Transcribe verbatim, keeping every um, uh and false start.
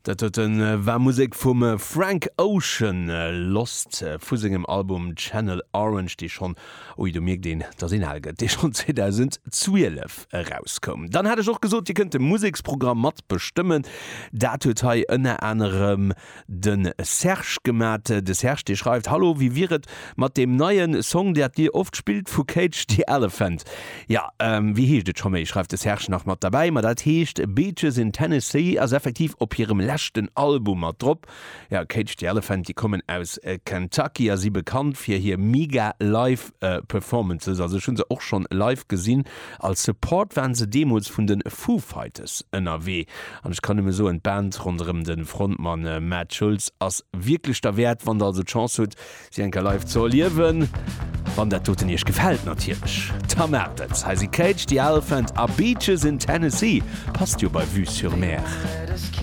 Dat doten war Musek vum Frank Ocean, Lost, vu sengem Album Channel Orange, dee schonn, ui, do mierkt een, dass een al gëtt, dee schonn zweedausendzwielef erauskoum. Dann hat ech och gesot, Dir kënnt de Museksprogramm mat bestëmmen. Dat huet hei ënner anerem de Serge gemat. De Serge, dee schreift, Hallo, wéi wier et mat deem neien Song, dat Dir oft spillt, vu Cage the Elephant? Ja, wéi heescht et scho méi, schreift de Serge nach mat derbäi. Ma dat heescht Beaches in Tennessee, ass effektiv op hirem leschten Album mat drop. Ja, Cage the Elephant, déi kommen aus Kentucky a si bekannt fir hir mega live Performances. Also ech hu se och schonn live gesinn. Als Support waren se deemools vun de Foo Fighters ënnerwee. An ech kann nëmme soen, d'Band ronderëm de Frontmann Matt Schulze ass wierklech derwäert, wann der also d'Chance hutt, si eng Kéier live ze erliewen. Wann dat doten iech gefält natierlech, da maacht et. Hei si Cage the Elephant a Beaches in Tennessee. Passt jo bei Vue sur Mer.